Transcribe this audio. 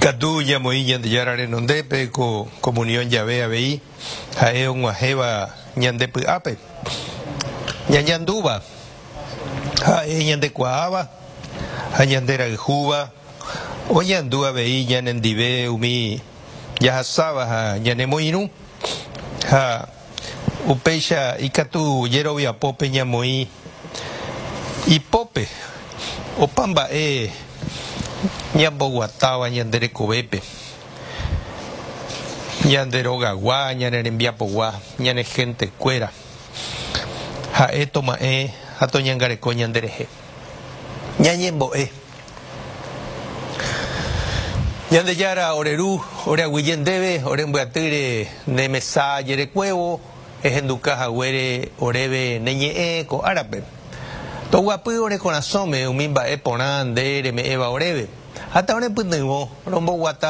Ikatu ñamoĩ Ñandejára renondépe ko comunión jave avei ha'e og̃uahẽva ñande py'ápe. Ñañandúva, ha'e ñandekuaáva ha ñanderayhúva oñandu avei ñanendive umi jahasáva ha ñanemoirũ ha Upéicha ikatu jeroviapópe ñamoĩ ipópe opa mba'e ñamboguatáva ñande rekovépe, ñande rogagua, ñane rembiapogua, ñane hentekuéra. Ha'e toma'ẽ ha toñangareko ñanderehe. Ñañembo'e. Ñandejára ore Ru, ore aguyje ndéve, ore mbyatýre ne mesa jerekuévo, ehenduka haguére oréve ne ñe'ẽ ko árape. Toguapy ore korasõme umi mba'e porã nde reme'ẽva oréve, ha ta orepytyvõ romboguata.